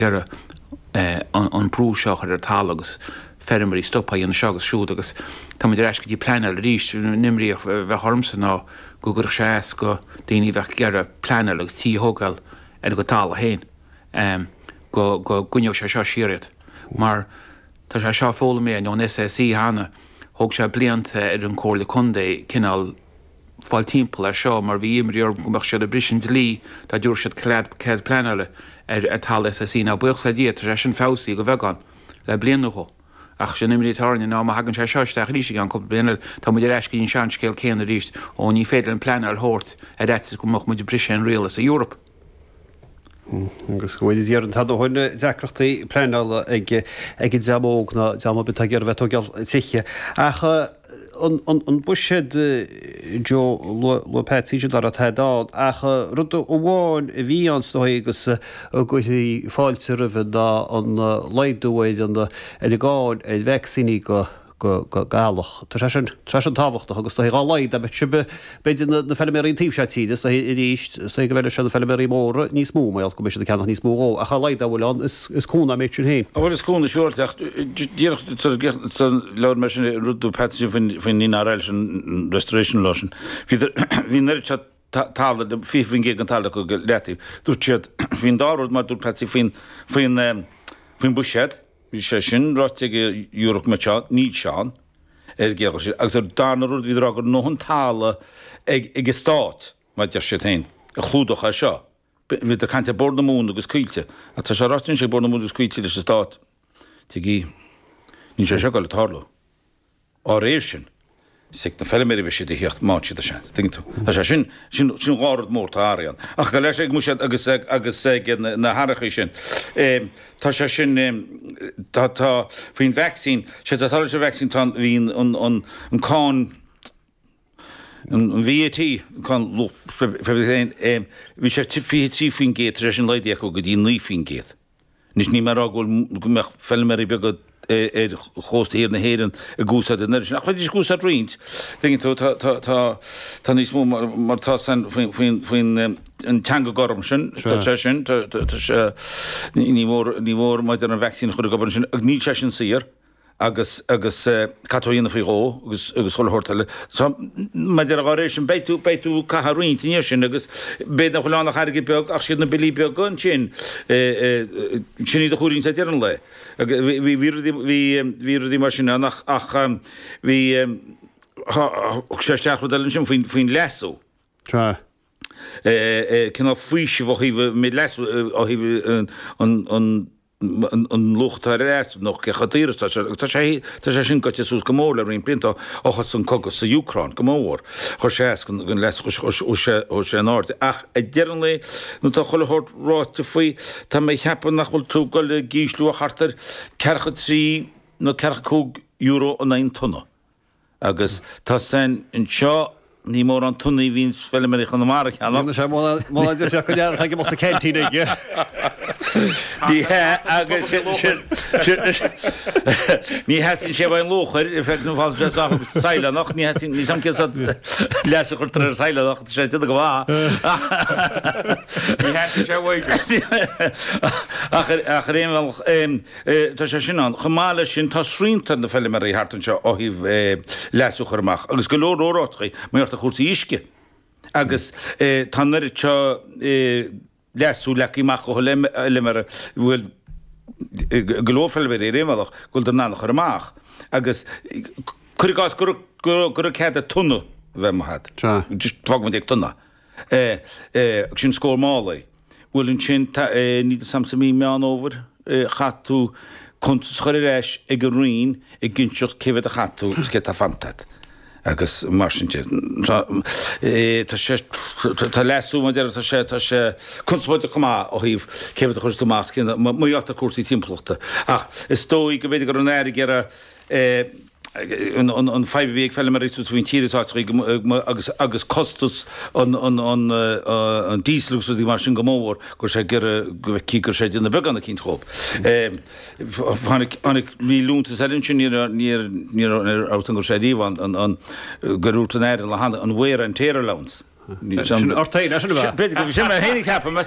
Iarraidh an brú seo a chur ar an talamh agus feirmeoirí stopadh a dhéanamh seo agus siúd agus tá muid ar ais go dtí pleanáil arís. An imní a bheadh ormsa ná go gcuirfeadh sé as go daoine a bheadh ag iarraidh pleanáil agus tí a thógáil ar a gcuid talamh féin go gcoinneodh sé seo siar iad. Mar tá sé seo foghlamtha ón SAC cheana, thóg sé blianta ar an Comhairle Contae cineál fáil timpeall air seo mar bhí imní orthu go mbeadh siad ag briseadh an dlí dá dtabharfadh siad cead pleanála ar talamh SAC. Now buíochas le Dia tá sé sin feabhsaithe de bheagán le bliain nó dhó. Ach sé an imní atá orainne ná má thagann sé seo isteach arís i gceann cúpla bliain eile tá muid ar ais go dtí an seanscéal céanna arís, ó ní féidir linn pleanáil a thabhairt ar fhaitíos go mbeadh muid ag briseadh aon riail sa Eoraip. Agus go bhfuil idir an t-am ó shin deacrachtaí pleanála ag an dream óg ná dream ar bith atá ag iarraidh bheith ag tógáil tithe. Ach an buiséad, Joe, luaigh Patsy sin dá raibh tada ann. Ach rud amháin a bhí ann is dóigh agus a gcuirfí fáilte roimhe ná an laghdú ar an gcáin ar vacsaíní go go eallach. Tá sé sin, tá sé sin tábhachtach agus is dóigh dá laghad dá mbeadh sibh, b'fhéidir na, na feilméaraí an taobh seo tíre, is dóigh arís, is dóigh go bhfeilfeadh sé na feilméaraí móra níos mó mar gheall go mbeidh siad ag ceannach níos mó dhó ach a laghad dá bhfuil ann is, is cúnamh an méid sin féin. Bhuel is cúnamh siúráilte ach díreach tar labhair mé sin rud dúirt Patsy faoin, faoin NRL sin, Restoration Law sin. Bhí, bhí an oiread seo talamh, 20% den talamh acu go leataobh. Dúirt siad faoin dá rud mar dúirt Patsy faoin, faoin, faoin buiséad, Bhí sé sin ráite ag Europe go mbeadh sé ann, níl sé ann, ar gcéad dul síos. Agus an darna rud, bhíodar ag rá go raibh a ndóthain talamh ag an stát, mar a deir siad féin, a chlúdódh é seo. Bhíodar ag caint ar Bord na Móna agus Coillte. Ach tá sé ráite anois ag Bord na Móna agus Coillte leis an stát, tuigí, níl sé seo ag dul ag tarlú. Á réir sin, is ag na feilméaraí a bheidh siad a thíocht má fhaigheann siad an seans, tuigeann tú. Tá sé sin, sin, sin dhá rud mór atá athraithe ann. Ach go leis ag mbuiséad agus ag, agus ag na hathrachaí sin, tá sé sin, tá, tá, faoin vacsaín, sé tá leis an vacsaín, tá an, bhí an, an, an cáin, an VAT, an cáin luach féin, bhí sé 23%, tá sé sin laghdaithe acu go dtí 9%. Anois níl mé ag rá go bhfuil, go mbeadh feilméaraí beaga ar chósta thiar na hÉireann ag úsáid an oiread sin, ach bheidís ag úsáid roinnt. Tuigeann tú, tá, tá, tá, tá níos mó mar, mar tá san faoin, faoin, faoin an teanga gorm sin, tá sé sin, tá, tá, tá sé, ní mór, ní mór maidir an vacsaín a chur ag obair ansin, ach níl sé sin saor. agus agus caithfidh tú a dhéanamh faoi dhó agus agus chuile shórt eile. So maidir dá réir sin beidh tú beidh tú ag caitheamh roinnt i ndiaidh sin agus b'fhéidir nach bhfuil ann ach airgead beag ach siad na billí beaga ansin sin iad a chomhairíonn ag deireadh an lae. Agus bhí bhí bhí rudaí bhí bhí rudaí mar sin ann ach ach bhí thug sé isteach rud eile ansin faoin faoin leasú. Sea. Cineál faoiseamh ó thaobh an méid leasú ó thaobh an an an luach atá ar an leasú nó cé chomh daor is atá sé, agus tá sé, tá sé sin goite suas go mór le roinnt blianta ó thosaigh an cogadh sa Úcráin, go mór. Chuir sé as don leasú, chuir sé, chuir sé in airde. Ach ag deireadh an lae, nuair atá chuile shórt ráite faoi, tá mé ag ceapadh nach bhfuil tú ag dul ag ísliú ach thart ar ceathracha trí nó ceathracha cúig euro in aghaidh an tonna. Agus tá san anseo, ní mórán tonnaí a bhíonns feilméaraí Chonamara a cheannach. Níl sé mórán difríocht go leor atá ag imeacht sa canteen aige. Ní hea, agus sin, ní theastaíonn sé uaidh an luachair, in fact, nó fásann sé sách agus saighleánach, ní theastaíonn, níl 's a'm cén sórt leas a chuirtear ar saighleánach, tá sé ag déanamh go maith. Ní theastaíonn sé uaidh. Ach ar aon bhealach, Tá sé sin ann. Chomh maith leis sin, tá srianta ar na feilméaraí thart anseo ó thaobh leasú a chur amach agus go leor leor áiteachaí mar gheall ar chúrsaí uisce. Agus tá an oiread seo leasú leagtha amach go chuile fheilméara, bhuel, go leor feilméaraí ar aon bhealach, go bhfuil in ann a chur amach. Agus cuir i gcás go raibh cead ag tonna a bheith amuigh agat. Just fágfaidh muid ag tonna. Sin scór málaí. Bhuel ansin, níl 'fhios a'msa mí Meán Fhómhair, chaith tú cuntas a chur ar ais ag an Roinn ag inseacht cé mhéad a chaith tú agus céard atá fanta agat. Agus mar sin de. Tá sé, tá leasú mar deir, tá sé, tá sé conspóideach chomh maith ó thaobh cé mhéad a chuireas tú amach, mar gheall ar cúrsaí timpeallachta. Ach is dóigh go mb'fhéidir go raibh an Aire ag iarraidh, an fadhb a bhí ag feilméaraí suas faoin tír is áiteachaí agus agus costas an an diesel agus rudaí mar sin go mór go raibh sé ag iarraidh go bhfeicfí go raibh sé ag déanamh beagán eicínt dhóibh. Tháinig tháinig bhí liúntas eile ansin ní raibh ní ní raibh go raibh sé riamh ann an an gur dhúirt an Aire le hAnna an wear and tear allowance. Sin ort féin, é sin ab ea? B'fhéidir go bhí sin mé féin a cheapaim.